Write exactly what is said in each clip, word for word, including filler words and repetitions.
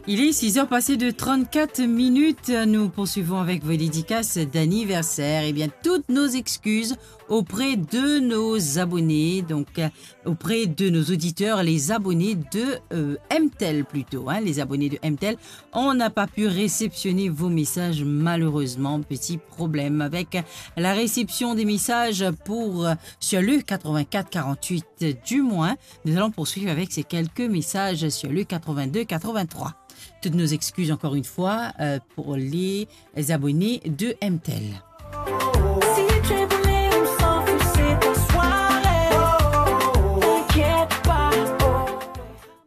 Il est six heures passées de trente-quatre minutes. Nous poursuivons avec vos dédicaces d'anniversaire. Eh bien, toutes nos excuses auprès de nos abonnés, donc, euh, auprès de nos auditeurs, les abonnés de, euh, M T L plutôt, hein, les abonnés de M T L. On n'a pas pu réceptionner vos messages, malheureusement. Petit problème avec la réception des messages pour, euh, sur le quatre-vingt-quatre quarante-huit, du moins. Nous allons poursuivre avec ces quelques messages sur le quatre-vingt-deux quatre-vingt-trois. Toutes nos excuses encore une fois, euh, pour les abonnés de M T L. Si tu es boulé, on s'en fout, c'est ta soirée. T'inquiète pas.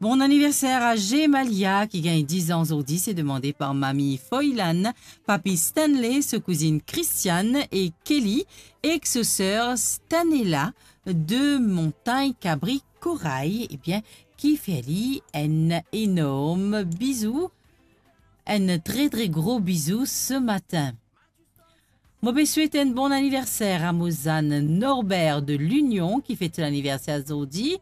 Bon anniversaire à Gemalia, qui gagne dix ans aujourd'hui. C'est demandé par Mamie Foylan, Papi Stanley, sa cousine Christiane et Kelly, ek sa sœur Stanella de Montagne Cabri Corail. Eh bien, ki fer li enn enorm bizou, enn tre, tre gro bizou ce matin. Mo pe swet enn bon anniverser a mo zann Norbert de Lunion, ki fet so laniverser zordi,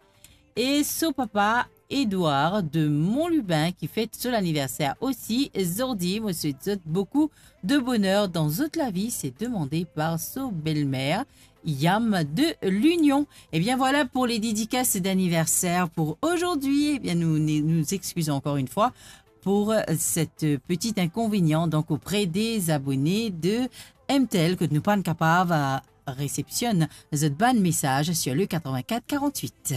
e so papa Edouard de Montlubin, ki fet so laniverser osi zordi. Mo swet zot boukou de boner dan zot lavi, se demande par so belmer, Yam de Lunion. Eh bien voilà pour les dédicaces d'anniversaire pour aujourd'hui. Eh bien, nous, nous nous excusons encore une fois pour, euh, cette, euh, petit inconvénient, donc, auprès des abonnés de M T L, kot nou pa'nn kapav, euh, resepsionn zot bann mesaz sur le quatre-vingt-quatre quarante-huit.